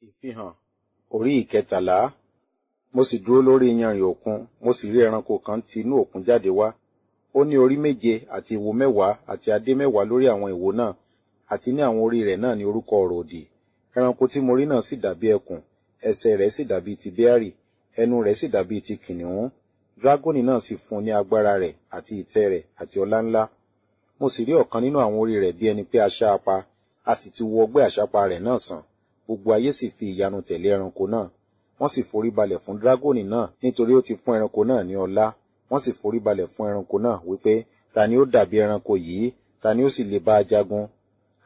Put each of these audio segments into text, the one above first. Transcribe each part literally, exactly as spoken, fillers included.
Ìfihàn orí ìkẹtàlá. Mo sì dúró lórí iyanrìn òkun, mo sì rí ẹranko kan ti inú òkun jáde wá. Ó ní orí méje àti ìwo mẹ́wàá àti adé mẹ́wàá lórí àwọn ìwo náà, àti ní àwọn orí rẹ̀ náà ní orúkọ ọ̀rọ̀ òdì. Ẹranko tí mo rí náà sì dàbí ẹkùn, ẹsẹ̀ rẹ̀ sì dàbí ti bẹ́árì, ẹnu rẹ̀ sì dàbí ti kìnnìún. Dragoni náà sì fún un ní agbára rẹ̀ àti ìtẹ́ rẹ̀ àti ọlá ńlá. Mo sì rí ọ̀kan nínú àwọn orí rẹ̀ bí ẹni pé a ṣá a pa, a sì ti wo ọgbẹ́ àṣápa rẹ̀ náà sàn. Gbogbo ayé sì fi ìyanu tẹ̀lé ẹranko náà. Wọ́n sì foríbalẹ̀ fún dragoni náà nítorí ó ti fún ẹranko náà ní ọlá. Wọ́n sì foríbalẹ̀ fún ẹranko náà wípé, ta ni ó dàbí ẹranko yìí? Ta ni ó sì lè bá a jagun?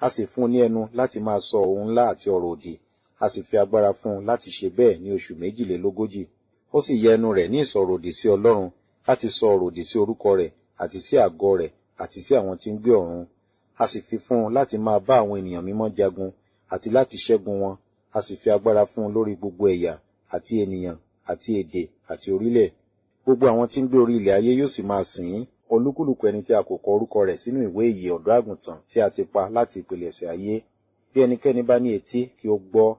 A sì fún un ní ẹnu láti máa sọ ohun ńlá àti ọ̀rọ̀ òdì. A sì fi agbára fún un láti ṣe bẹ́ẹ̀ ní oṣù méjìlélógójì. Ó sì yẹ ẹnu rẹ̀ ní ìsọ̀rọ̀ òdì sí Ọlọ́run, láti sọ ọ̀rọ̀ òdì sí orúkọ rẹ̀ àti sí àgọ́ rẹ̀ àti sí àwọn tí ń gbé ọ̀run. A sì fi fún un láti máa bá àwọn ènìyàn mímọ́ jagun àti láti ṣẹ́gun wọn. A sì fi agbára fún un lórí gbogbo ẹ̀yà àti ènìyàn àti èdè àti orílẹ̀. Gbogbo àwọn tí ń gbé orí ilẹ̀ ayé yóò sì máa sìn ín. Olúkúlùkù ẹni tí a kò kọ orúkọ rẹ̀ sínú ìwé ìyè ọ̀dọ́ àgùntàn tí a ti pa láti ìpilẹ̀ṣẹ̀ ayé. Bí ẹnikẹ́ni bá ní etí, kí ó gbọ́.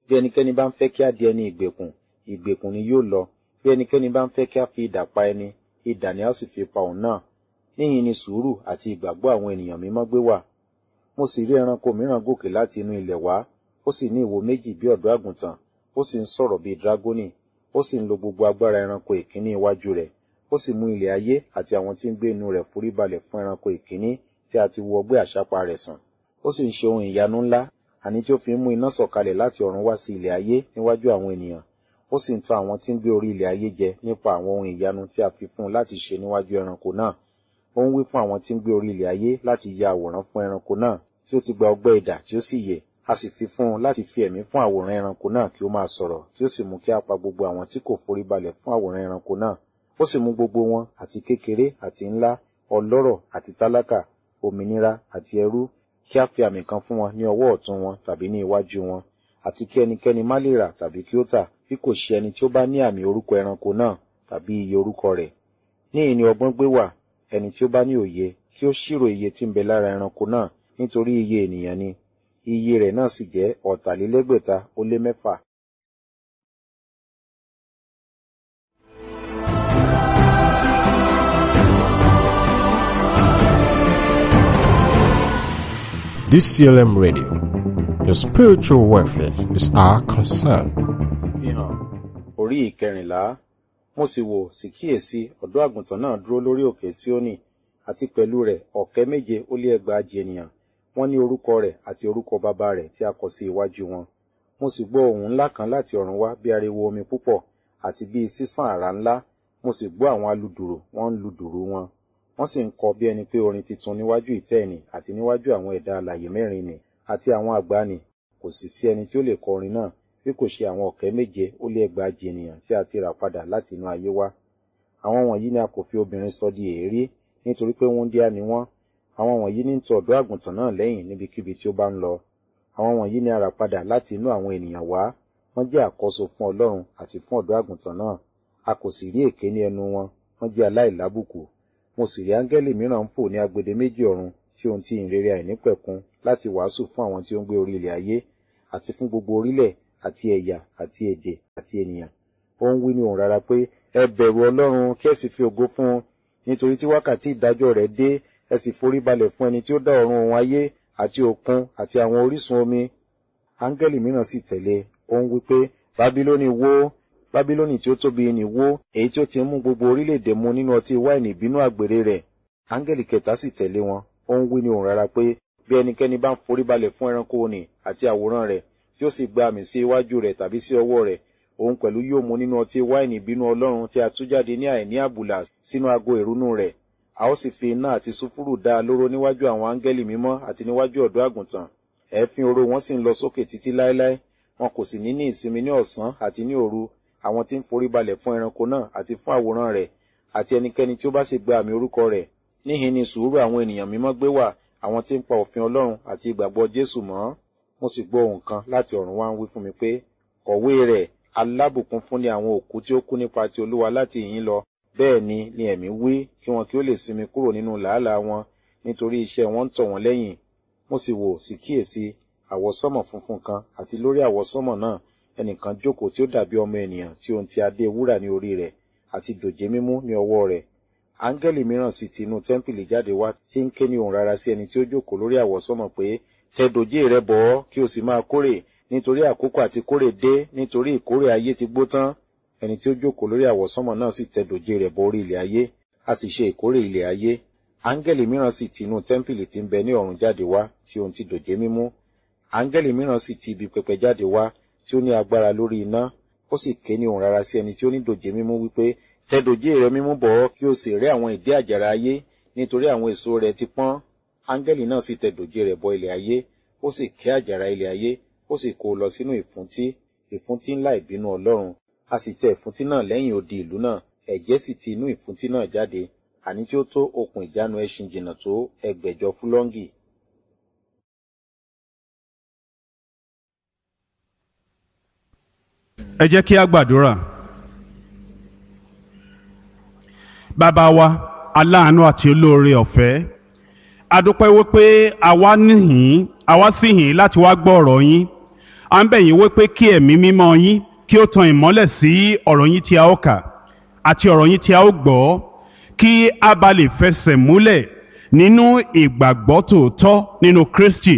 Bí ẹnikẹ́ni bá ń fẹ́ kí á di ẹni ìgbèkùn, ìgbèkùn ni yóò lọ. Bí ẹnikẹ́ni bá ń fẹ́ kí á fi idà pa ẹni, idà ni a ó sì fi pa òun náà. Níhìn ni sùúrù àti ìgbàgbọ́ àwọn ènìyàn mímọ́ gbé wà. Mo sì rí ẹranko mìíràn gòkè láti inú ilẹ̀ wá, ó sì ní ìwo méjì bí ọ̀dọ́ àgùntàn, ó sì ń sọ̀rọ̀ bí dragoni, ó sì ń lo gbogbo agbára ẹranko ìkíní iwájú rẹ̀. Ó sì mú ilẹ̀ ayé àti àwọn tí ń gbé inú rẹ̀ foríbalẹ̀ fún ẹranko ìkíní tí a ti wo ọgbẹ́ àṣápa rẹ̀ sàn. Ó sì ń ṣe ohun ìyanu ńlá, àní tí ó fi ń mú iná sọ̀kalẹ̀ láti ọ̀run wá sí ilẹ̀ ayé níwájú àwọn ènìyàn. Ó sì ń tan àwọn tí ń gbé orí ilẹ̀ ayé jẹ nípa àwọn ohun ìyanu tí a fi fún un láti ṣe níwájú ẹranko náà. Ó ń wí fún àwọn tí ń gbé orí ilẹ̀ ayé láti ya àwòrán fún ẹranko náà tí ó ti gba ọgbẹ́ idà tí ó sì yè. A sì fi fún un láti fi ẹ̀mí fún àwòrán ẹranko náà kí ó máa sọ̀rọ̀, kí ó sì mú kí a pa gbogbo àwọn tí kò foríbalẹ̀ fún àwòrán ẹranko náà. Ó sì mú gbogbo wọn, àti kékeré àti ńlá, ọlọ́rọ̀ àti tálákà, òmìnira àti ẹrú, kí a fi àmì kan fún wọn ní ọwọ́ ọ̀tún wọn tàbí ní iwájú wọn, àti kí ẹnikẹ́ni má lè rà tàbí kí ó tà bí kò ṣe ẹni tí ó bá ní àmì orúkọ ẹranko náà tàbí iye orúkọ rẹ̀. Níhìn ni ọgbọ́n gbé wà, ẹni tí ó bá ní òye, kí ó ṣírò iye tí ń bẹ lára ẹranko náà, nítorí iye ènìyàn ni. Iye rẹ̀ náà sì jẹ́ ọ̀tàlélẹ́gbẹ̀ta ó lé mẹ́fà. D C L M Radio, your spiritual welfare is our concern. Ìfihàn orí ìkẹrìnlá. Mo sì wò, sì kíyèsí, ọ̀dọ́ àgùntàn náà dúró lórí òkè Síónì, àti pẹ̀lú rẹ̀ ọ̀kẹ́ méje ó lé ẹgbàajì ènìyàn. Wọ́n ní orúkọ rẹ̀ àti orúkọ bàbá rẹ̀ tí a kọ sí iwájú wọn. Mo sì gbọ́ ohùn ńlá kan láti ọ̀run wá bí ariwo omi púpọ̀ àti bí sísàn àrá ńlá. Mo sì gbọ́ àwọn aludùrù, wọ́n ń lu dùrù wọn. Wọ́n sì ń kọ bí ẹni pé orin titun níwájú ìtẹ́ nì àti níwájú àwọn ẹ̀dá alààyè mẹ́rin nì àti àwọn àgbà nì. Kò sì sí ẹni tí ó lè kọ orin náà bí kò ṣe àwọn ọ̀kẹ́ méje ó lé ẹgbàajì ènìyàn tí a ti rà padà láti inú ayé wá. Àwọn wọ̀nyí ni a kò fi obìnrin sọ di èérí, nítorí pé wúńdíá ni wọ́n. Àwọn wọ̀nyí ní ń tọ ọ̀dọ́ àgùntàn náà lẹ́yìn níbikíbi tí ó bá ń lọ. Àwọn wọ̀nyí ni a rà padà láti inú àwọn ènìyàn wá. Wọ́n jẹ́ àkọ́so fún Ọlọ́run àti fún ọ̀dọ́ àgùntàn náà. A kò sì rí èké ní ẹnu wọn. Wọ́n jẹ́ aláìlábùkù. Mo sì rí áńgẹ́lì mìíràn ń fò ní agbede méjì ọ̀run tí ohun ti ìhìnrere àìnípẹ̀kun láti wàásù fún àwọn tí ó ń gbé orí ilẹ̀ ayé, àti fún gbogbo orílẹ̀ àti ẹ̀yà àti èdè àti ènìyàn. Ó ń wí ní ohùn rara pé, ẹ bẹ̀rù Ọlọ́run kí ẹ sì fi ògo fún un, nítorí tí wákàtí ìdájọ́ rẹ̀ dé, ẹ sì foríbalẹ̀ fún ẹni tí ó dá ọ̀run òun ayé àti òkun àti àwọn orísun omi. Áńgẹ́lì mìíràn sì tẹ̀lé, ó ń wí pé, Bábílónì wó, Bábílónì tí ó tóbi nì wó, èyí tí ó ti ń mú gbogbo orílẹ̀-èdè mu nínú ọtí wáìnì ìbínú àgbèrè rẹ̀. Áńgẹ́lì kẹta sì tẹ̀lé wọn, ó ń wí ní ohùn rara pé, bí ẹnikẹ́ni bá ń foríbalẹ̀ fún ẹranko nì àti àwòrán rẹ̀, tí ó sì gba àmì sí iwájú rẹ̀ tàbí sí ọwọ́ rẹ̀, òun pẹ̀lú yóò mu nínú ọtí wáìnì ìbínú Ọlọ́run tí a tú jáde ní àìní àbùlà sínú ago ìrunú rẹ̀. A ó sì fi iná àti sùfúrù dá a lóró níwájú àwọn áńgẹ́lì mímọ́ àti níwájú ọ̀dọ́ àgùntàn. Ẹ̀ẹ́fín oró wọn sì ń lọ sókè títí láéláé. Wọn kò sì ní ní ìsinmi ní ọ̀sán àti ní òru, àwọn tí ń foríbalẹ̀ fún ẹranko náà àti fún àwòrán rẹ̀, àti ẹnikẹ́ni tí ó bá sì gba àmì orúkọ rẹ̀. Níhìn ni sùúrù àwọn ènìyàn mímọ́ gbé wà, àwọn tí ń pa òfin Ọlọ́run àti ìgbàgbọ́ Jésù mọ́. Mo sì gbọ́ ohùn kan láti ọ̀run wá ń wí fún mi pé, kọ̀wé rẹ̀, alábùkún fún ni àwọn òkú tí ó kú nípa ti Olúwa láti ìhín lọ. Bẹ́ẹ̀ ni ni ẹ̀mí wí, kí wọn kí ó lè sinmi kúrò nínú làálàá wọn, nítorí iṣẹ́ wọn ń tọ̀ wọ́n lẹ́yìn. Mo sì wò, sì kíyèsí, Àwọsánmọ̀ funfun kan, àti lórí àwọsánmọ̀ náà ẹnìkan jókòó tí ó dàbí ọmọ ènìyàn tí ohun ti adé wúrà ní orí rẹ̀ àti dòjé mímú ní ọwọ́ rẹ̀. Áńgẹ́lì mìíràn sì ti inú tẹ́ḿpìlì jáde wá tí ń ké ní ohùn rara sí ẹni tí ó jókòó lórí àwọsánmọ̀ pé, tẹ dòjé rẹ bọ̀ ọ́ kí o sì máa kórè, nítorí àkókò àti kórè dé, nítorí ìkórè ayé ti gbó tán. Ẹni tí ó jókòó lórí àwọsánmọ̀ náà sì tẹ dòjé rẹ̀ bọ orí ilẹ̀ ayé, a sì ṣe ìkórè ilẹ̀ ayé. Áńgẹ́lì mìíràn sì ti inú tẹ́ḿpìlì tí ń bẹ ní ọ̀run jáde wá tí ohun ti dòjé mímú. Áńgẹ́lì mìíràn sì ti ibi pẹpẹ jáde wá tí ó ní agbára lórí iná, ó sì ké ní ohùn rara sí ẹni tí ó ní dòjé mímú wípé, tẹ dòjé rẹ mímú bọ̀ ọ́ kí o sì rẹ́ àwọn ìdí àjàrà ayé, nítorí àwọn èso rẹ̀ ti pọ́n. Áńgẹ́lì náà sì tẹ dòjé rẹ̀ bọ ilẹ̀ ayé, ó sì ké àjàrà ilẹ̀ ayé, ó sì kó o lọ sínú ìfúntí, ìfúntí ńlá ìbínú Ọlọ́run. A sì tẹ ìfúntí náà lẹ́yìn odi ìlú náà, ẹ̀jẹ̀ sì ti inú ìfúntí náà jáde, àní tí ó tó okùn ìjánu ẹṣin jìnnà tó ẹgbẹ̀jọ fúlọ́ǹgì. Ẹ jẹ́ kí a gbàdúrà. Bàbá wa, aláàánú àti olóore ọ̀fẹ́, a dúpẹ́ wípé àwa níhìn, àwa sì hìn láti wá gbọ́ ọ̀rọ̀ yín. À ń bẹ̀ yín wípé kí ẹ̀mí mímọ́ yín kí ó tan ìmọ́lẹ̀ sí ọ̀rọ̀ yín tí a ó kà àti ọ̀rọ̀ yín tí a ó gbọ́, kí a bá lè fẹsẹ̀ múlẹ̀ nínú ìgbàgbọ́ tòótọ́ nínú Kristi.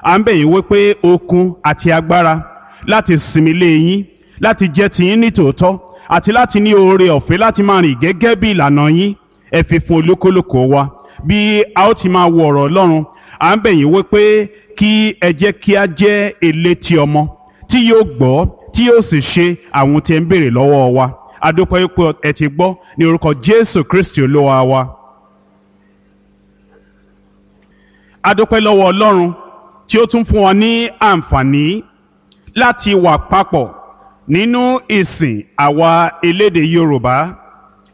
À ń bẹ̀ yín wípé okun àti agbára láti sinmi lé yín, láti jẹ́ tiyín ní tòótọ́, àti láti ní oore ọ̀fẹ́ láti máa rìn gẹ́gẹ́ bí ìlànà yín, ẹ fi fún olúkúlùkù wa. Bí a ó ti máa wo ọ̀rọ̀ Ọlọ́run, à ń bẹ̀ yín wípé kí ẹ jẹ́ kí a jẹ́ elétí ọmọ tí yóò gbọ́, tí yóò sì ṣe àwọn tí ẹ ń béèrè lọ́wọ́ wa. A dúpẹ́ wípé ẹ ti gbọ́ ní orúkọ Jésù Kristi Olúwa wa. A dúpẹ́ lọ́wọ́ Ọlọ́run tí ó tún fún wa ní àǹfààní láti wà papọ̀ nínú ìsìn àwa elédè Yorùbá.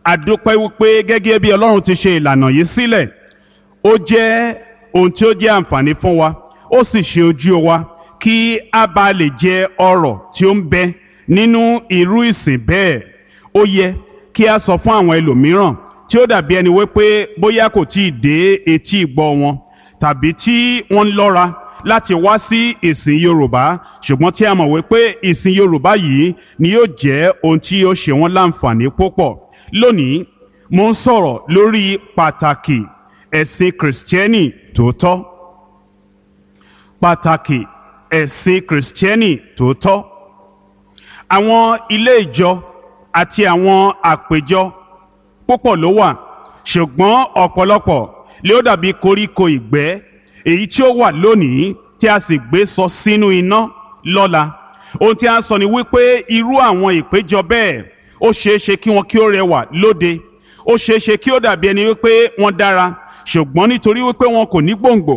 A dúpẹ́ wípé gẹ́gẹ́ bí Ọlọ́run ti ṣe ìlànà yìí sílẹ̀, ó jẹ́ ohun tí ó jẹ́ àǹfààní fún wa, ó sì ṣe ojú wa kí a bá lè jẹ ọrọ̀ tí ó ń bẹ nínú irú ìsìn bẹ́ẹ̀. Ó yẹ kí a sọ fún àwọn ẹlòmíràn tí ó dàbí ẹni wípé bóyá kò tí ì dé etí ìgbọ́ wọn, tàbí tí wọ́n ń lọ́ra láti wá sí ìsìn Yorùbá, ṣùgbọ́n tí a mọ̀ wípé ìsìn Yorùbá yìí ni yóò jẹ́ ohun tí yóò ṣe wọ́n láǹfààní púpọ̀. Lónìí, mo ń sọ̀rọ̀ lórí pàtàkì ẹ̀sìn Kìrìsìtẹ́nì tòótọ́. Pàtàkì ẹ̀sìn Kìrìsìtẹ́nì tòótọ́. Àwọn ilé ìjọ àti àwọn àpèjọ púpọ̀ ló wà, ṣùgbọ́n ọ̀pọ̀lọpọ̀ ló dàbí koríko ìgbẹ́ èyí tí ó wà lónìí tí a sì gbé sọ sínú iná lọ́la. Ohun tí a ń sọ ni wípé irú àwọn ìpéjọ bẹ́ẹ̀ ó ṣeé ṣe kí wọn kí ó rẹwà lóde, ó ṣeé ṣe kí ó dàbí ẹni wípé wọ́n dára, ṣùgbọ́n nítorí wípé wọn kò ní gbòǹgbò,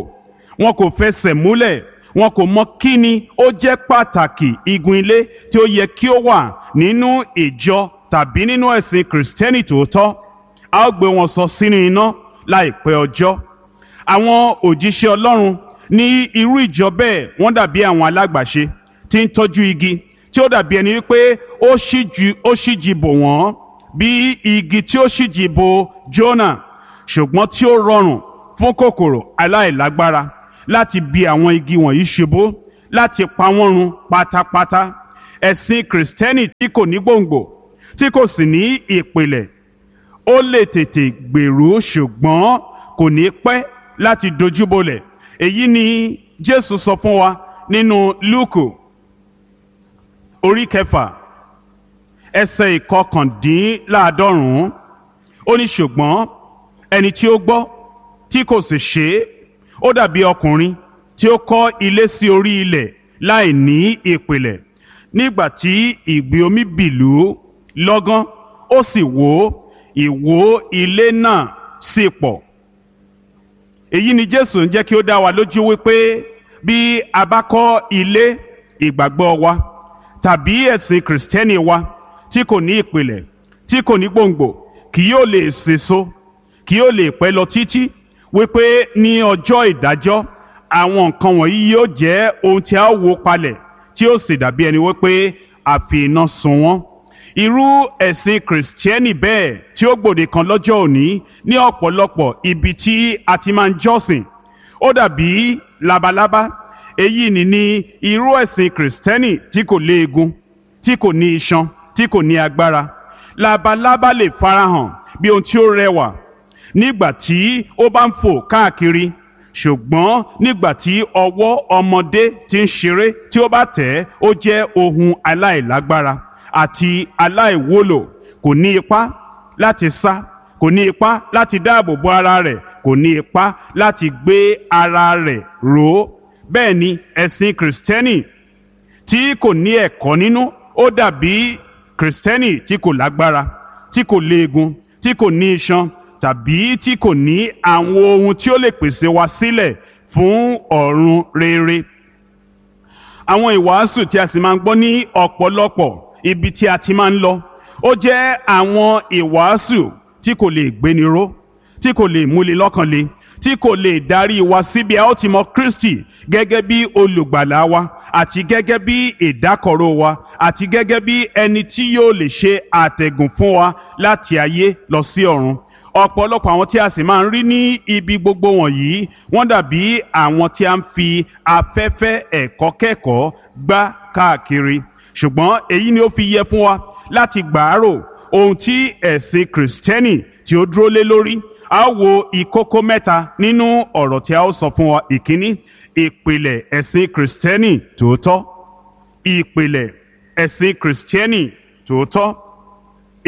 wọn kò fẹsẹ̀ múlẹ̀, wọn kò mọ kí ni ó jẹ́ pàtàkì igun ilé tí ó yẹ kí ó wà nínú ìjọ tàbí nínú ẹ̀sìn Kìrìsìtẹ́nì tòótọ́, a ó gbé wọn sọ sínú iná láìpẹ́ ọjọ́. Àwọn òjíṣẹ́ Ọlọ́run ní irú ìjọ bẹ́ẹ̀ wọ́n dàbí àwọn alágbàṣe tí ń tọ́jú igi tí ó dàbí ẹni wípé ó ṣíjú ó ṣíji bò wọ́n bí igi tí ó ṣíji bò Jónà, ṣùgbọ́n tí ó rọrùn fún kòkòrò aláìlágbára láti bi àwọn igi wọ̀nyí ṣubú, láti pa wọ́n run pátápátá. Ẹ̀sìn Kìrìsìtẹ́nì tí kò ní gbòǹgbò, tí kò sì ní ìpìlẹ̀, ó lè tètè gbèrú ṣùgbọ́n kò ní pẹ́ láti dojúbolẹ̀. Èyí ni Jésù sọ fún wa nínú Lúùkù orí kẹfà ẹsẹ̀ ìkọkàndínláàádọ́rùn-ún. Ó ní ṣùgbọ́n ẹni tí ó gbọ́ tí kò sì ṣe é, ó dàbí ọkùnrin tí ó kọ́ ilé sí orí ilẹ̀ láì ní ìpìlẹ̀. Nígbà tí ìgbì omi bìlú lọ́gán, ó sì wó, ìwó ilé náà sì pọ̀. Èyí ni Jésù ń jẹ́ kí ó dá wa lójú wípé bí a bá kọ́ ilé ìgbàgbọ́ wa tàbí ẹ̀sìn Kìrìsìtẹ́nì wa tí kò ní ìpìlẹ̀, tí kò ní gbòǹgbò, kì yóò lè sèso, kì yóò lè pẹ́ lọ títí, wípé ní ọjọ́ ìdájọ́ àwọn nǹkan wọ̀nyí yóò jẹ́ ohun tí a ó wó palẹ̀ tí ó sì dàbí ẹni wípé a fi iná sun wọ́n. Irú ẹ̀sìn Kìrìsìtẹ́nì bẹ́ẹ̀ tí ó gbòde kan lọ́jọ́ òní ní ọ̀pọ̀lọpọ̀ ibi tí a ti máa ń jọ́sìn, ó dàbí labalábá Èyí ni ní irú ẹ̀sìn kìrìsìtẹ́nì tí kò léegun, tí kò ní iṣan, tí kò ní agbára. Labalábá lè farahàn bí ohun tí ó rẹwà nígbà tí ó bá ń fò káàkiri, ṣùgbọ́n nígbà tí ọwọ́ ọmọdé ti ń ṣeré tí ó bá tẹ̀ ẹ́, ó jẹ́ ohun aláìlágbára àti aláìwúlò. Kò ní ipá láti sá, kò ní ipá láti dáàbò bo ara rẹ̀, kò ní ipá láti gbé ara rẹ̀ ró. Bẹ́ẹ̀ ni ẹ̀sìn kìrìsìtẹ́nì tí kò ní ẹ̀kọ́ nínú, ó dàbí kìrìsìtẹ́nì tí kò lágbára, tí kò léegun, tí kò ní iṣan tàbí tí kò ní àwọn ohun tí ó lè pèsè wa sílẹ̀ fún ọ̀run rere. Àwọn ìwàásù tí a sì máa ń gbọ́ ní ọ̀pọ̀lọpọ̀ ibi tí a ti máa ń lọ, ó jẹ́ àwọn ìwàásù tí kò lè gbéni ró, tí kò lè múni lọ́kàn le, tí kò lè darí wa síbi a ó ti mọ Kristi gẹ́gẹ́ bí olùgbàlà wa àti gẹ́gẹ́ bí ìdákọ̀ró wa àti gẹ́gẹ́ bí ẹni tí yóò lè ṣe àtẹ̀gùn fún wa láti ayé lọ sí ọ̀run. Ọ̀pọ̀lọpọ̀ àwọn tí a sì máa ń rí ní ibi gbogbo wọ̀nyí, wọ́n dàbí àwọn tí a ń fi afẹ́fẹ́ ẹ̀kọ́ kẹ́kọ̀ọ́ gbá káàkiri. Ṣùgbọ́n èyí ni ó fi yẹ fún wa láti gbàárò ohun tí ẹ̀sìn kìrìsìtẹ́nì tí ó dúró lé lórí. A ó wo ìkókó mẹ́ta nínú ọ̀rọ̀ tí a ó sọ fún wa. Ìkíní, ìpìlẹ̀ ẹ̀sìn kìrìsìtẹ́nì tòótọ́. Ìpìlẹ̀ ẹ̀sìn kìrìsìtẹ́nì tòótọ́.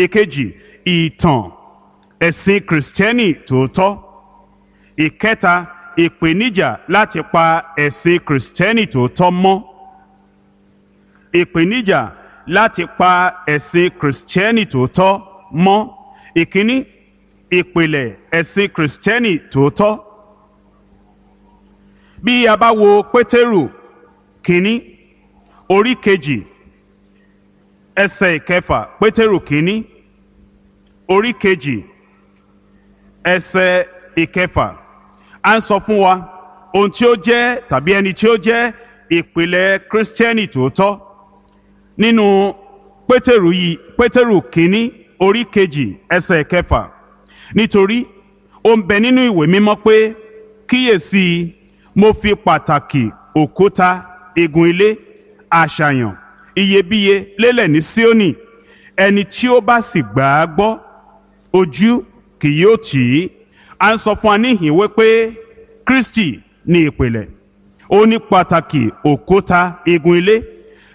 Ìkejì, ìtàn ẹ̀sìn kìrìsìtẹ́nì tòótọ́. Ìkẹta, ìpèníjà láti pa ẹ̀sìn kìrìsìtẹ́nì tòótọ́ mọ́. Ìpèníjà láti pa ẹ̀sìn kìrìsìtẹ́nì tòótọ́ mọ́. Ìkíní, ìpìlẹ̀ ẹ̀sìn kìrìsìtẹ́nì tòótọ́. Bí a bá wo Pétérù kínní orí kejì ẹsẹ̀ ìkẹfà, Pétérù kínní orí kejì ẹsẹ̀ ìkẹfà, à ń sọ fún wa ohun tí ó jẹ́ tàbí ẹni tí ó jẹ́ ìpìlẹ̀ kìrìsìtẹ́nì tòótọ́. Nínú Pétérù yìí, Pétérù kínní orí kejì ẹsẹ̀ ìkẹfà, nítorí ó ń bẹ nínú ìwé mímọ́ pé, kíyèsí, mo fi pàtàkì òkúta igun ilé àṣàyàn iyebíye lélẹ̀ ní Síónì, ẹni tí ó bá sì gbà á gbọ́, ojú kì yóò tì í. À ń sọ fún wa níhìn wípé Kristi ní ìpìlẹ̀, ó ní pàtàkì òkúta igun ilé.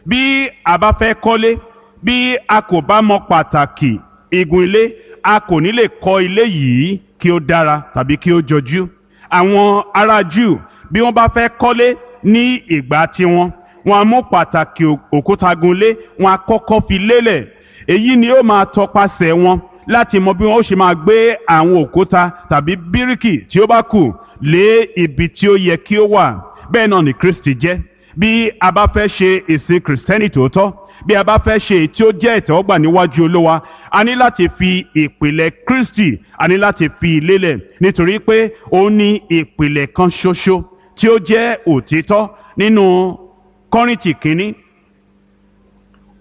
Bí a bá fẹ́ kọ́lé, bí a kò bá mọ pàtàkì igun ilé, a kò ní lè kọ́ ilé yìí kí ó dára tàbí kí ó jọjú. Àwọn ará Júù, bí wọ́n bá fẹ́ kọ́lé ní ìgbà tiwọn, wọ́n á mú pàtàkì òkúta gunlé, wọ́n á kọ́kọ́ fi lélẹ̀. Èyí ni ó máa tọpasẹ̀ wọn láti mọ bí wọ́n ó ṣe máa gbé àwọn òkúta tàbí bíríkì tí ó bá kù lé ibi tí ó yẹ kí ó wà. Bẹ́ẹ̀ náà ni Kristi jẹ́. Bí a bá fẹ́ ṣe ìsìn kìrìsìtẹ́nì tòótọ́, bí a bá fẹ́ ṣe èyí tí ó jẹ́ ìtẹ́wọ́gbà níwájú Olúwa, a ní láti fi ìpìlẹ̀ Kristi, a ní láti fi lélẹ̀, nítorí pé ó ní ìpìlẹ̀ kan ṣoṣo tí ó jẹ́ òtítọ́. Nínú Kọ́ríńtì kínní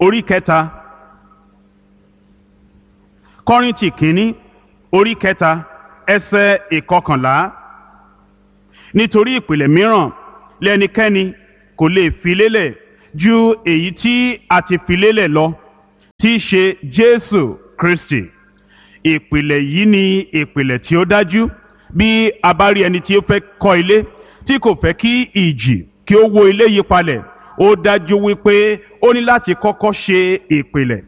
orí kẹta, Kọ́ríńtì kínní orí kẹta ẹsẹ̀ ìkọkànlá, nítorí ìpìlẹ̀ mìíràn lẹ́nikẹ́ni kò lè fi lélẹ̀ ju èyí tí a ti fi lélẹ̀ lọ, tí í ṣe Jésù Kristi. Ìpìlẹ̀ yìí ni ìpìlẹ̀ tí ó dájú. Bí a bá rí ẹni tí ó fẹ́ kọ́ ilé tí kò fẹ́ kí ìjì kí ó wó ilé yìí palẹ̀, ó dájú wípé ó ní láti kọ́kọ́ ṣe ìpìlẹ̀,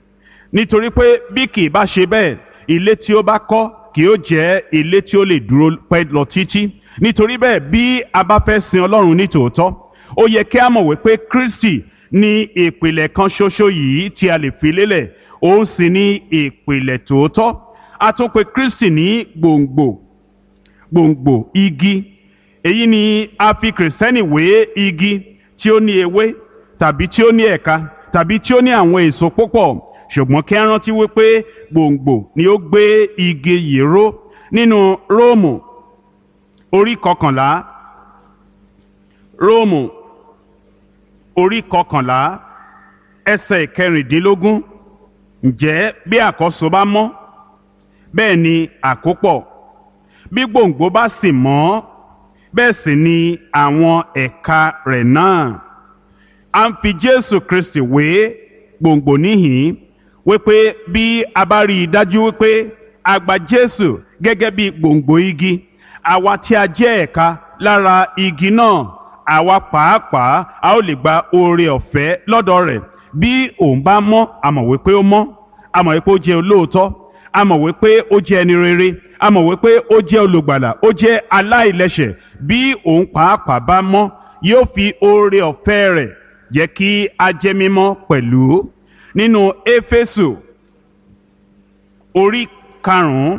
nítorí pé bí kì í bá ṣe bẹ́ẹ̀, ilé tí ó bá kọ́ kì ó jẹ́ ilé tí ó lè dúró pẹ́ lọ títí. Nítorí bẹ́ẹ̀, bí a bá fẹ́ sin Ọlọ́run ní tòótọ́, ó yẹ kí a mọ̀ wípé Kristi ní ìpìlẹ̀ kan ṣoṣo yìí tí a lè fi lélẹ̀, òun sì ní ìpìlẹ̀ tòótọ́. A tún pè Kristi ní gbòǹgbò, gbòǹgbò igi. Èyí ni a fi kìrìsìtẹ́nì wé igi tí ó ní ewé tàbí tí ó ní ẹ̀ka tàbí tí ó ní àwọn èso púpọ̀, ṣùgbọ́n kí a rántí wípé gbòǹgbò ni ó gbé igi yìí ró. Nínú Róòmù orí kọkànlá, Róòmù orí kọkànlá ẹsẹ̀ ìkẹrìndínlógún, ǹjẹ́ bí àkọ́so bá mọ́, bẹ́ẹ̀ ni àkópọ̀; bí gbòǹgbò bá sì mọ́, Bẹ́ẹ̀ sì ni àwọn ẹ̀ka rẹ̀ náà. A ń fi Jésù Kristi wé gbòǹgbò níhìn wípé bí a bá rí i dájú wípé a gba Jésù gẹ́gẹ́ bí gbòǹgbò igi, àwa tí a jẹ́ ẹ̀ka lára igi náà, àwa pàápàá a ó lè gba oore ọ̀fẹ́ lọ́dọ̀ rẹ̀. Bí òun bá mọ́, a mọ̀ wípé ó mọ́, a mọ̀ wípé ó jẹ́ olóòótọ́, a mọ̀ wípé ó jẹ́ ẹni rere, a mọ̀ wípé ó jẹ́ olùgbàlà, ó jẹ́ aláìlẹ́ṣẹ̀. Bí òun pàápàá bá mọ́, yóò fi oore ọ̀fẹ́ rẹ̀ jẹ́ kí a jẹ́ mímọ́ pẹ̀lú. Nínú Éfésù orí karùn-ún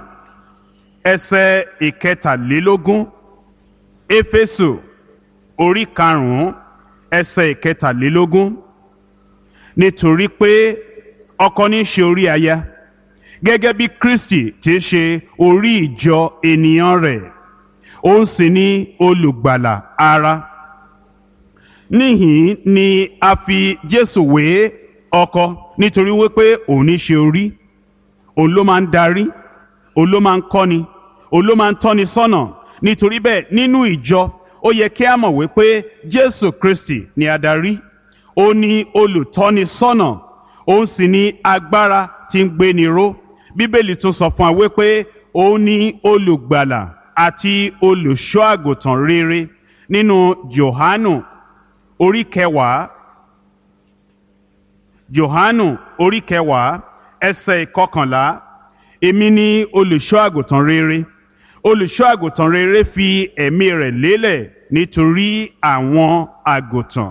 ẹsẹ̀ ìkẹtàlélógún, Éfésù orí karùn-ún ẹsẹ̀ ìkẹtàlélógún, nítorí pé ọkọ ní í ṣe orí aya, gẹ́gẹ́ bí Kristi ti ṣe orí ìjọ ènìyàn rẹ̀, òun sì ni olùgbàlà ara. Níhìn ni a fi Jésù wé ọkọ, nítorí wípé òun ní ṣe orí, òun ló máa ń darí, òun ló máa ń kọ́ni, òun ló máa ń tọ́ni sọ́nà. Nítorí bẹ́ẹ̀, nínú ìjọ ó yẹ kí a mọ̀ wípé Jésù Kristi ni adarí, ó ní olùtọ́ni sọ́nà, òun sì ní agbára tí ń gbéni ró. Bíbélì tún sọ fún wa wípé òun ní olùgbàlà àti olùṣọ́ àgùntàn rere. Nínú Jòhánù orí kẹwàá, Jòhánù orí kẹwàá ẹsẹ̀ ìkọkànlá, èmi ni olùṣọ́ àgùntàn rere. Olùṣọ́ àgùntàn rere fi ẹ̀mí rẹ̀ lélẹ̀ nítorí àwọn àgùntàn.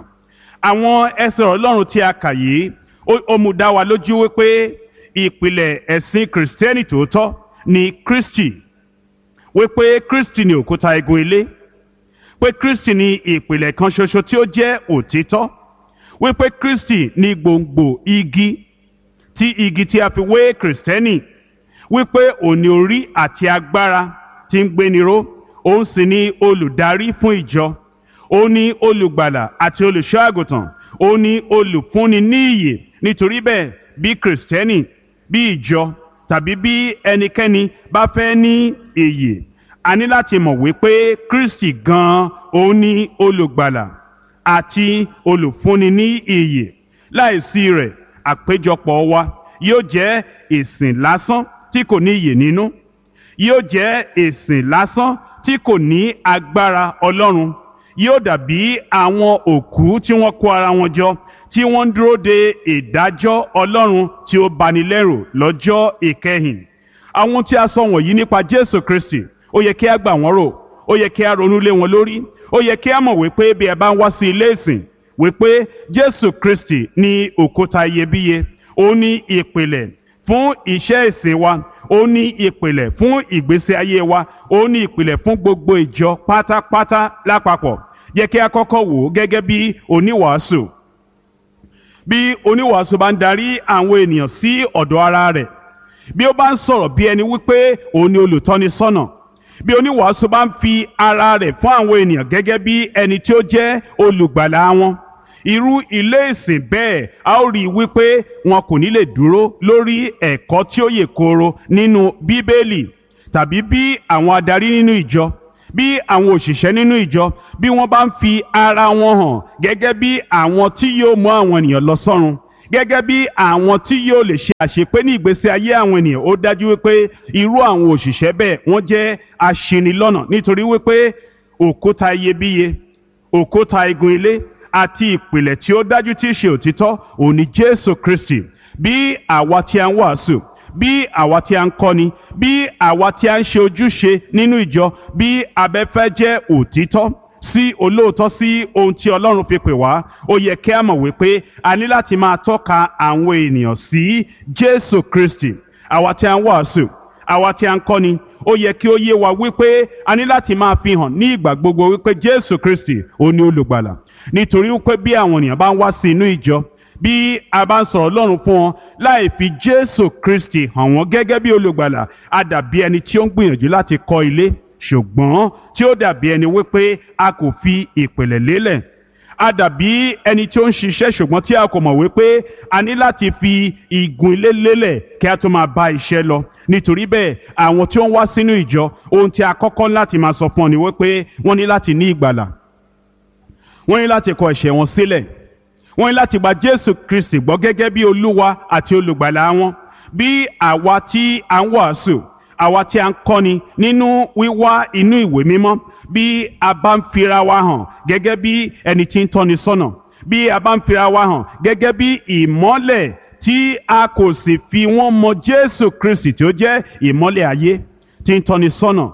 Àwọn ẹsẹ̀ Ọlọ́run tí a kà yìí, ó mú dá wa lójú wípé ìpìlẹ̀ ẹ̀sìn Kìrìsìtẹ́nì tòótọ́ ni Kristi, wípé Kristi ni òkúta igun ilé, pé Kristi ni ìpìlẹ̀ kan ṣoṣo tí ó jẹ́ òtítọ́, wípé Kristi ni gbòǹgbò igi tí igi tí a fi wé Kìrìsìtẹ́nì, wípé òun ni orí àti agbára tí ń gbéni ró, òun sì ni olùdarí fún ìjọ, òun ni olùgbàlà àti olùṣọ́ àgùntàn, òun ni olùfúnni ní ìyè. Nítorí bẹ́ẹ̀, bí Kìrìsìtẹ́nì, bí ìjọ tàbí bí ẹnikẹ́ni bá fẹ́ ní ìyè, a ní láti mọ̀ wípé Kristi gan-an òun ni olùgbàlà àti olùfúnni ní ìyè. Láìsí rẹ̀, àpéjọpọ̀ wa yóò jẹ́ ìsìn lásán tí kò ní ìyè nínú, yóò jẹ́ ìsìn lásán tí kò ní agbára Ọlọ́run, yóò dàbí àwọn òkú tí wọ́n kó ara wọn jọ tí wọ́n ń dúró de ìdájọ́ Ọlọ́run tí ó bani lẹ́rù lọ́jọ́ ìkẹyìn. Àwọn tí a sọ wọ̀nyí nípa Jésù Kristi, ó yẹ kí a gbà wọ́n rò, ó yẹ kí a ronú lé wọn lórí, ó yẹ kí a mọ̀ wípé bí ẹ bá ń wá sí ilé ìsìn, wípé Jésù Kristi ní òkúta iyebíye, ó ní ìpìlẹ̀ fún iṣẹ́ ìsìn wa, ó ní ìpìlẹ̀ fún ìgbésí ayé wa, ó ní ìpìlẹ̀ fún gbogbo ìjọ pátápátá lápapọ̀. Yẹ kí a kọ́kọ́ wò ó gẹ́gẹ́ bí oníwàásù. Bí oníwàásù bá ń darí àwọn ènìyàn sí ọ̀dọ̀ ara rẹ̀, bí ó bá ń sọ̀rọ̀ bí ẹni wípé òun ni olùtọ́ni sọ́nà, bí oníwàásù bá ń fi ara rẹ̀ fún àwọn ènìyàn gẹ́gẹ́ bí ẹni tí ó jẹ́ olùgbàlà wọn, irú ilé ìsìn bẹ́ẹ̀ a ó rí i wípé wọn kò ní lè dúró lórí ẹ̀kọ́ tí ó yè kooro nínú Bíbélì. Tàbí bí àwọn adarí nínú ìjọ, bí àwọn òṣìṣẹ́ nínú ìjọ, bí wọ́n bá ń fi ara wọn hàn gẹ́gẹ́ bí àwọn tí yóò mú àwọn ènìyàn lọ sọ́run, gẹ́gẹ́ bí àwọn tí yóò lè ṣe àṣepé ní ìgbésí ayé àwọn ènìyàn, ó dájú wípé irú àwọn òṣìṣẹ́ bẹ́ẹ̀ wọ́n jẹ́ aṣinilọ́nà, nítorí wípé òkúta iyebíye, òkúta igun ilé àti ìpìlẹ̀ tí ó dájú tí í ṣe òtítọ́ òun ni Jésù Kristi. Bí àwa tí a ń wàásù, bí àwa tí a ń kọ́ni, bí àwa tí a ń ṣe ojúṣe nínú ìjọ, bí abẹ́fẹ́ jẹ́ òtítọ́ sí olóòótọ́ sí ohun tí Ọlọ́run fi pè wá, ó yẹ kí a mọ̀ wípé a ní láti máa tọ́ka àwọn ènìyàn sí Jésù Kristi. Àwa tí a ń wàásù, àwa tí a ń kọ́ni, ó yẹ kí ó yé wa wípé a ní láti máa fi hàn ní ìgbà gbogbo wípé Jésù Kristi ó ní olùgbàlà. Nítorí wípé bí àwọn ènìyàn bá ń wá sí inú ìjọ, bí a bá ń sọ̀rọ̀ Ọlọ́run fún wọn láì fi Jésù Kristi hàn wọ́n gẹ́gẹ́ bí olùgbàlà, a dàbí ẹni tí ó ń gbìyànjú láti kọ́ ilé, ṣùgbọ́n tí ó dàbí ẹni wípé a kò fi ìpìlẹ̀ lélẹ̀. A dàbí ẹni tí ó ń ṣiṣẹ́ ṣùgbọ́n tí a kò mọ̀ wípé a ní láti fi igun ilé lélẹ̀ kí a tó máa bá iṣẹ́ lọ. Nítorí bẹ́ẹ̀, àwọn tí ó ń wá sínú ìjọ, ohun tí a kọ́kọ́ láti máa sọ fún ọ ni wípé wọ́n ní láti ní ìgbàlà, wọ́n ní láti kọ ẹ̀ṣẹ̀ wọn sílẹ̀, wọ́n ní láti gba Jésù Kristi gbọ́ gẹ́gẹ́ bí Olúwa àti Olùgbàlà wọn. Bí àwa tí a ń wàásù, àwa tí a ń kọ́ni nínú wíwá inú ìwé mímọ́, bí a bá ń fira wa hàn gẹ́gẹ́ bí ẹni tí ń tọ́ni sọ́nà, bí a bá ń fira wa hàn gẹ́gẹ́ bí ìmọ́lẹ̀ tí a kò sì fi wọ́n mọ Jésù Kristi tí ó jẹ́ ìmọ́lẹ̀ ayé tí ń tọ́ni sọ́nà,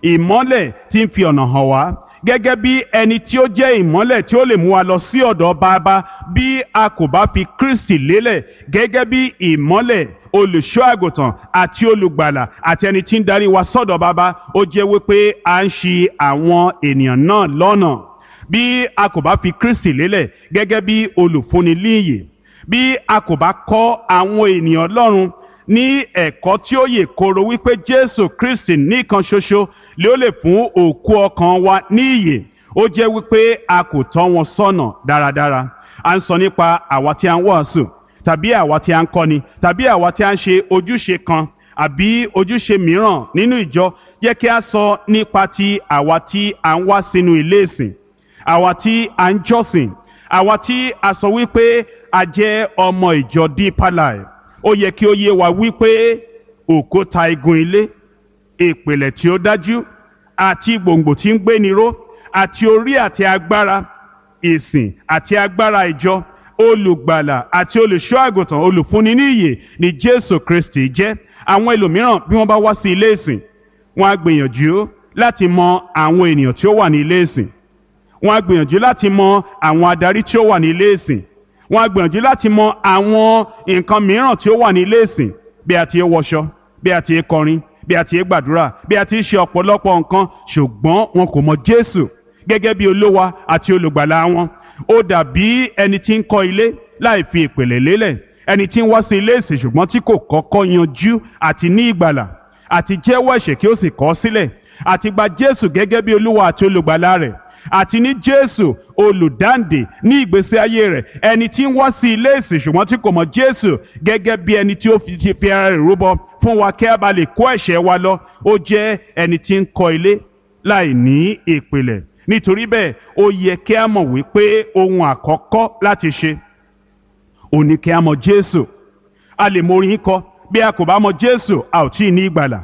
ìmọ́lẹ̀ tí ń fi ọ̀nà hàn wá, gẹ́gẹ́ bí ẹni tí ó jẹ́ ìmọ́lẹ̀ tí ó lè mú wa lọ sí ọ̀dọ̀ Bàbá, bí a kò bá fi Kristi lélẹ̀ gẹ́gẹ́ bí ìmọ́lẹ̀, olùṣọ́ àgùntàn àti olùgbàlà àti ẹni tí ń darí wa sọ́dọ̀ Bàbá, ó jẹ́ wípé à ń ṣì àwọn ènìyàn náà lọ́nà. Bí a kò bá fi Kristi lélẹ̀ gẹ́gẹ́ bí olùfúnni líyè, bí a kò bá kọ́ àwọn ènìyàn Ọlọ́run ní ẹ̀kọ́ tí ó yè kooro wípé Jésù Kristi nìkan ṣoṣo lé ó lè fún òkú ọkàn wa ní ìyè, ó jẹ́ wípé a kò tọ́ wọn sọ́nà dáradára. À ń sọ nípa àwa tí a ń wàásù, tàbí àwa tí a ń kọ́ni, tàbí àwa tí a ń ṣe ojúṣe kan àbí ojúṣe mìíràn nínú ìjọ. Jẹ́ kí a sọ nípa ti àwa tí a ń wá sínú ilé ìsìn, àwa tí a ń jọ́sìn, àwa tí a sọ wípé a jẹ́ ọmọ ìjọ Deeper Life. Ó yẹ kí ó yé wa wípé òkúta igun ilé, ìpìlẹ̀ tí ó dájú àti gbòǹgbò tí ń gbéni ró, àti orí àti agbára ìsìn àti agbára ìjọ, olùgbàlà àti olùṣọ́ àgùntàn, olùfúnni ní ìyè ni Jésù Kristi jẹ́. Àwọn ẹlòmíràn bí wọ́n bá wá sí ilé ìsìn, wọ́n á gbìyànjú láti mọ àwọn ènìyàn tí ó wà ní ilé ìsìn, wọ́n á gbìyànjú láti mọ àwọn adarí tí ó wà ní ilé ìsìn, wọ́n á gbìyànjú láti mọ àwọn nǹkan mìíràn tí ó wà ní ilé ìsìn, bí a ti ń wọṣọ, bí a ti ń kọrin, bí a ti ń gbàdúrà, bí a ti ń ṣe ọ̀pọ̀lọpọ̀ nǹkan, ṣùgbọ́n wọn kò mọ Jésù gẹ́gẹ́ bí Olúwa àti Olùgbàlà wọn. Ó dàbí ẹni tí ń kọ́ ilé láì fi ìpìlẹ̀ lélẹ̀, ẹni tí ń wá sí ilé ìsìn ṣùgbọ́n tí kò kọ́kọ́ yanjú àti ní ìgbàlà àti jẹ́wọ́ ẹ̀ṣẹ̀ kí ó sì kọ̀ ọ́ sílẹ̀, àti gba Jésù gẹ́gẹ́ bí Olúwa àti Olùgbàlà rẹ̀, àti ní Jésù olùdáǹdè ní ìgbésí ayé rẹ̀. Ẹni tí ń wá sí ilé ìsìn ṣùgbọ́n tí kò mọ̀ Jésù gẹ́gẹ́ bí ẹni tí ó fi ti fi ara rẹ̀ rúbọ fún wa kí a bá lè kó ẹ̀ṣẹ̀ wa lọ, ó jẹ́ ẹni tí ń kọ́ ilé láì ní ìpìlẹ̀. Nítorí bẹ́ẹ̀, ó yẹ kí a mọ̀ wípé ohun àkọ́kọ́ láti ṣe ò ní kí a mọ̀ Jésù. A lè mọ orin kọ, bí a kò bá mọ̀ Jésù a ò tí ì ní ìgbàlà.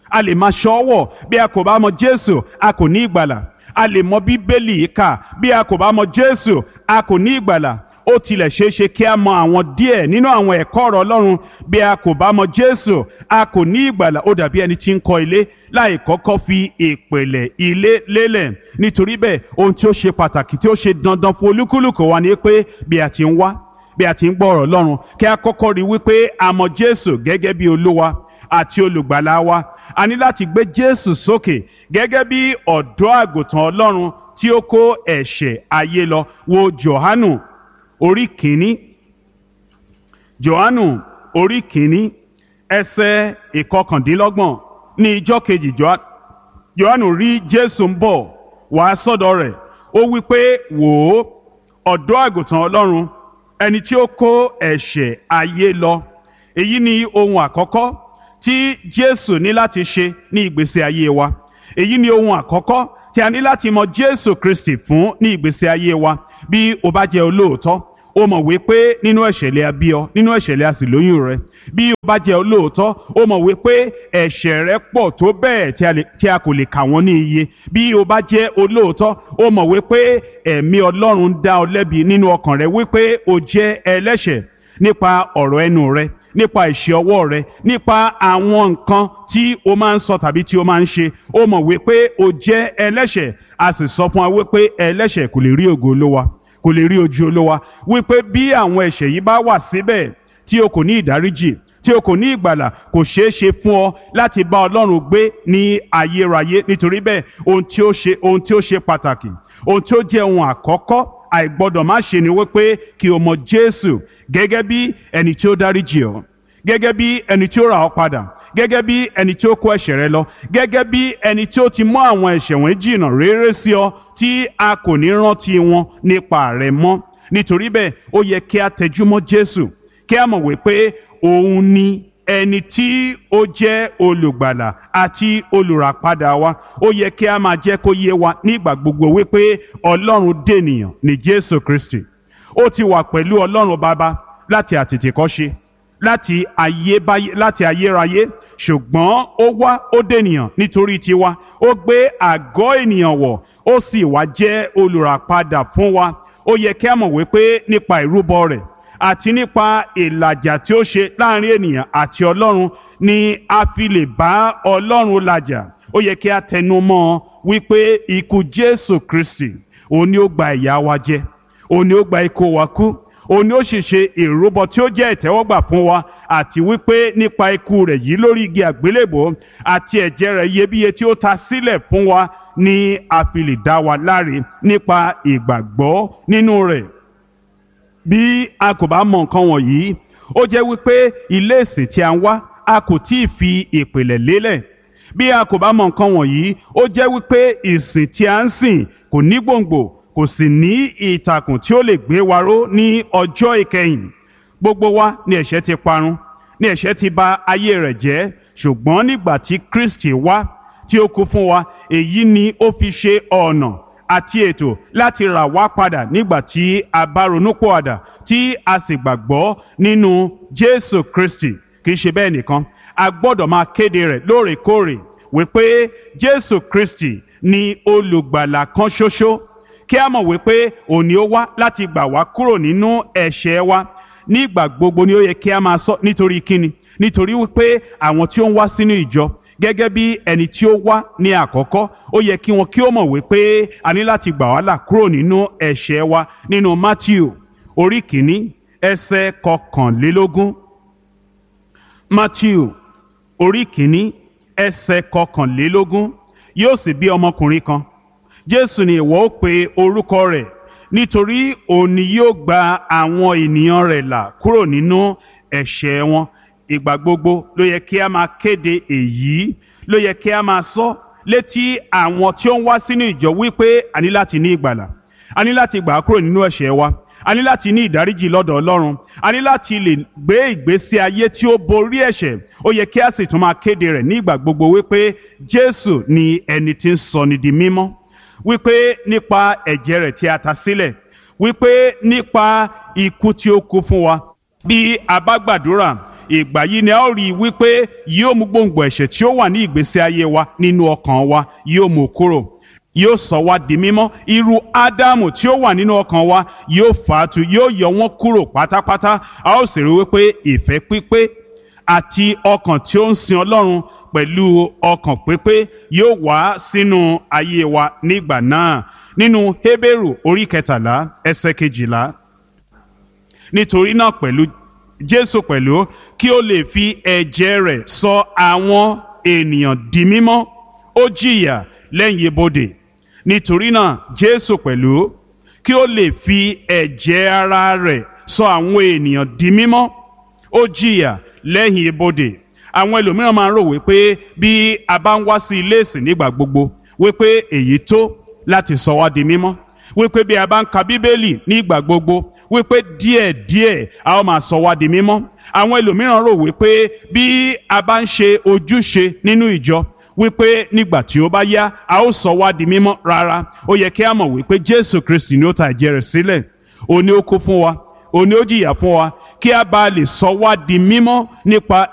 A lè máa ṣọ́wọ̀, bí a kò bá mọ̀ Jésù a kò ní ìgbàlà. A lè mọ Bíbélì kà, bí a kò bá mọ̀ Jésù a kò ní ìgbàlà. Ó tilẹ̀ ṣeé ṣe kí a mọ àwọn díẹ̀ nínú àwọn ẹ̀kọ́ ọ̀rọ̀ Ọlọ́run, bí a kò bá mọ̀ Jésù a kò ní ìgbàlà. Ó dàbí ẹni tí ń kọ́ ilé láì kọ́kọ́ fi ìpìlẹ̀ ilé lélẹ̀. Nítorí bẹ́ẹ̀, ohun tí ó ṣe pàtàkì tí ó ṣe dandan fún olúkúlùkù wa ni pé bí a ti ń wá, bí a ti ń gbọ́ ọ̀rọ̀ Ọlọ́run, kí a kọ́kọ́ rí wípé a mọ̀ Jésù gẹ́gẹ́ bí Olúwa àti Olùgbàlà wa. A ní láti gbé Jésù sókè gẹ́gẹ́ bí ọ̀dọ́ àgùntàn Ọlọ́run tí ó kó ẹ̀ṣẹ̀ ayé lọ. Wo Jòhánù orí kìíní. Jòhánù orí kìíní ẹsẹ̀ ìkọkàndínlọ́gbọ̀n. Ní ijọ́ kejì Jòhánù rí Jésù ń bọ̀ wá sọ́dọ̀ rẹ̀. Ó wí pé, wò ó, ọ̀dọ́ àgùntàn Ọlọ́run, ẹni tí ó kó ẹ̀ṣẹ̀ ayé lọ. Èyí ni ohun àkọ́kọ́ tí Jésù ní láti ṣe ní ìgbésí ayé wa. Èyí ni ohun àkọ́kọ́ tí a ní láti mọ Jésù Kristi fún ní ìgbésí ayé wa. Bí o bá jẹ́ olóòótọ́, o mọ̀ wípé nínú ẹ̀ṣẹ̀ lè a bí ọ, nínú ẹ̀ṣẹ̀ lè a sì lóyún rẹ. Bí o bá jẹ́ olóòótọ́, o mọ̀ wípé ẹ̀ṣẹ̀ rẹ pọ̀ tó bẹ́ẹ̀ tí a kò lè kà wọ́n ní iye. Bí o bá jẹ́ olóòótọ́, o mọ̀ wípé ẹ̀mí Ọlọ́run dá ọ lẹ́bi nínú ọkàn rẹ wípé o jẹ́ ẹlẹ́ṣẹ̀ nípa ọ̀rọ̀ ẹnu rẹ, nípa ìṣe ọwọ́ rẹ, nípa àwọn nǹkan tí o máa ń sọ tàbí tí o máa ń ṣe. O mọ̀ wípé o jẹ́ ẹlẹ́ṣẹ̀. A sì sọ fún wa wípé ẹlẹ́ṣẹ̀ kò lè rí ògo Olúwa, kò lè rí ojú Olúwa. Wípé bí àwọn ẹ̀ṣẹ̀ yìí bá wà síbẹ̀ tí o kò ní ìdáríjì, tí o kò ní ìgbàlà, kò ṣeé ṣe fún ọ láti bá Ọlọ́run gbé ní ayérayé. Nítorí bẹ́ẹ̀, ohun tí ó ṣe ohun tí ó ṣe pàtàkì, ohun tí ó jẹ́ ohun àkọ́kọ́ àìgbọ́dọ̀ má ṣe ni wípé kí o mọ̀ Jésù gẹ́gẹ́ bí ẹni tí ó dáríjì ọ́, gẹ́gẹ́ bí ẹni tí ó rà ọ́ padà, gẹ́gẹ́ bí ẹni tí ó kó ẹ̀ṣẹ̀ rẹ lọ, gẹ́gẹ́ bí ẹni tí ó ti mú àwọn ẹ̀ṣẹ̀ wọ̀nyí jìnnà réré sí ọ tí a kò ní rántí wọn nípa rẹ mọ́. Nítorí bẹ́ẹ̀, ó yẹ kí a tẹjúmọ́ Jésù, kí a mọ̀ wípé òun ni ẹni tí ó jẹ́ olùgbàlà àti olùràpadà wa. Ó yẹ kí a máa jẹ́ kó yé wa nígbà gbogbo wípé Ọlọ́run dènìyàn ní Jésù Kristi. Ó ti wà pẹ̀lú Ọlọ́run Baba láti àtètèkọ́ṣe, láti ayébáyé, láti ayérayé, ṣùgbọ́n ó wá, ó dènìyàn nítorí tiwa. Ó gbé àgọ́ ènìyàn wọ̀, ó sì wá jẹ́ olùràpadà fún wa. Ó yẹ kí a mọ̀ wípé nípa ìrúbọ rẹ̀ àti nípa ìlàjà tí ó ṣe láàrin ènìyàn àti Ọlọ́run ni a fi lè bá Ọlọ́run làjà. Ó yẹ kí a tẹnu mọ́ ọ wípé ikú Jésù Kristi òun ni ó gba ìyà wa jẹ, òun ni ó gba ikú wa kú, òun ni ó sì ṣe ìrúbọ tí ó jẹ́ ìtẹ́wọ́gbà fún wa, àti wípé nípa ikú rẹ̀ yìí lórí igi àgbélébòó àti ẹ̀jẹ̀ rẹ̀ iyebíye tí ó ta sílẹ̀ fún wa ni a fi lè dá wa láre nípa ìgbàgbọ́ nínú rẹ̀. Bí a kò bá mọ nǹkan wọ̀nyí, ó jẹ́ wípé ilé ìsìn tí a ń wá, a kò tí ì fi ìpìlẹ̀ lélẹ̀. Bí a kò bá mọ nǹkan wọ̀nyí, ó jẹ́ wípé ìsìn tí a ń sìn kò ní gbòǹgbò, kò sì ní ìtàkùn tí ó lè gbé wa ró ní ọjọ́ ìkẹyìn. Gbogbo wa ni ẹ̀ṣẹ̀ ti parun, ni ẹ̀ṣẹ̀ ti bà ayé rẹ̀ jẹ́, ṣùgbọ́n nígbà tí Kristi wá tí ó kú fún wa, èyí ni ó fi ṣe ọ̀nà àti ètò láti rà wá padà nígbà tí a bá ronúpìwàdà tí a sì gbàgbọ́ nínú Jésù Kristi. Kì í ṣe bẹ́ẹ̀ nìkan, a gbọ́dọ̀ máa kéde rẹ̀ lóòrèkóòrè wípé Jésù Kristi ni olùgbàlà kan ṣoṣo, kí a mọ̀ wípé òun ni ó wá láti gbà wá kúrò nínú ẹ̀ṣẹ̀ wa. Nígbà gbogbo ni ó yẹ kí a máa sọ. Nítorí kíni? Nítorí wípé àwọn tí ó ń wá sínú ìjọ gẹ́gẹ́ bí ẹni tí ó wá ní àkọ́kọ́, ó yẹ kí wọn kí ó mọ̀ wípé a ní láti gbà wá là kúrò nínú ẹ̀ṣẹ̀ wa. Nínú Matthew orí kìíní ẹsẹ̀ kọkànlélógún. Matthew orí kìíní ẹsẹ̀ kọkànlélógún. Yóò sì bí ọmọkùnrin kan, Jésù ni ìwọ ó pe orúkọ rẹ̀, nítorí òun ni yóò gba àwọn ènìyàn rẹ̀ là kúrò nínú ẹ̀ṣẹ̀ wọn. Ìgbà gbogbo ló yẹ kí a máa kéde èyí, ló yẹ kí a máa sọ létí àwọn tí ó ń wá sínú ìjọ wípé a ní láti ní ìgbàlà, a ní láti gbà á kúrò nínú ẹ̀ṣẹ̀ wa, a ní láti ní ìdáríjì lọ́dọ̀ Ọlọ́run, a ní láti lè gbé ìgbésí ayé tí ó borí ẹ̀ṣẹ̀. Ó yẹ kí a sì tún máa kéde rẹ̀ ní ìgbà gbogbo wípé Jésù ni ẹni tí ń sọni di mímọ́, wípé nípa ẹ̀jẹ̀ rẹ̀ tí a ta sílẹ̀, wípé nípa ikú tí ó kú fún wa. Bí a bá gbàdúrà, ìgbà yìí ni a ó rí i wípé yóò mú gbòǹgbò ẹ̀ṣẹ̀ tí ó wà ní ìgbésí ayé wa nínú ọkàn wa, yóò mú kúrò, yóò sọ wá di mímọ́. Irú Ádámù tí ó wà nínú ọkàn wa yóò fà á tu, yóò yọ wọ́n kúrò pátápátá. A ó sì rí wípé ìfẹ́ pípé àti ọkàn tí ó ń sin Ọlọ́run pẹ̀lú ọkàn pípé yóò wá sínú ayé wa nígbà náà. Nínú Hébérù orí kẹtàlá ẹsẹ̀ kejìlá. Nítorí náà pẹ̀lú Jésù pẹ̀lú kí ó lè fi ẹ̀jẹ̀ rẹ̀ sọ àwọn ènìyàn di mímọ́, ó jìyà lẹ́yìn ibodè. Nítorí náà Jésù pẹ̀lú kí ó lè fi ẹ̀jẹ̀ ara rẹ̀ sọ àwọn ènìyàn di mímọ́, ó jìyà lẹ́yìn ibodè. Àwọn ẹlòmíràn máa ń rò wípé bí a bá ń wá sí ilé ìsìn nígbà gbogbo, wípé èyí tó láti sọ wá di mímọ́, wípé bí a bá ń ka Bíbélì nígbà gbogbo, wípé díẹ̀díẹ̀ a ó máa sọ wá di mímọ́. Àwọn ẹlòmíràn rò wípé bí a bá ń ṣe ojúṣe nínú ìjọ, wípé nígbà tí ó bá yá a ó sọ wá di mímọ́. Rárá, ó yẹ kí a mọ̀ wípé Jésù Kristi ni ó ta ẹ̀jẹ̀ rẹ̀ sílẹ̀, òun ni ó kú fún wa, òun ni ó jìyà fún wa, kí a bá lè sọ wá di mímọ́ nípa